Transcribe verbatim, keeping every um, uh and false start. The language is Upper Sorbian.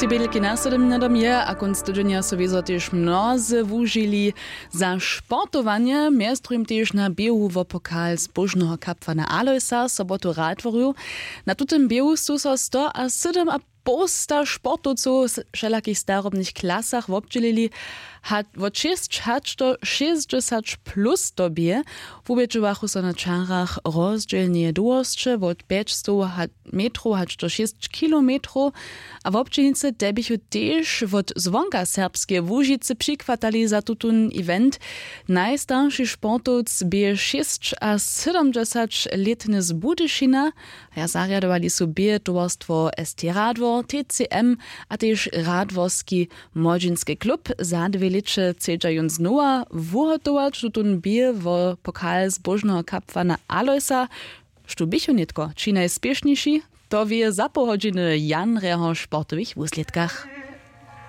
Te bědelki na sydym minudom je a kónc tydźenja su wězo tež mnozy wužili za sportowanje, mjez druhim tež na běhu wo pokal zbóžneho kapłana Alojsa sobotu radworju. Na tutym běhu su so sto a sydym a połsta sportowcow w wšelakich starobnych klasach wobdźělili. Wot šěsć hač do šěsćdźesać plus to bě. Wubědźowachu so na čarach rozdźělneje dołhosće wot pjećstow metrow hač do šěsć kilometrow. A wobdźělnicy te běchu tež wot zwonka serbskeje łužicy přichwatali za tutón event. Najstarši sportowc bě šěsćasydomdźesać lětny z budyšina. A zarjadowali su bě towarstwo st radwor tcm a tež radworski młodźinski klub. Za dwě lěće chcedźa jón znowa wuhotować tutón bě wo pokal zbóžneho kapłana Alojsa. Štó běchu nětko ći najspěšniši, to wěje za poł hodźiny w janrjeho sportowych wuslědkach.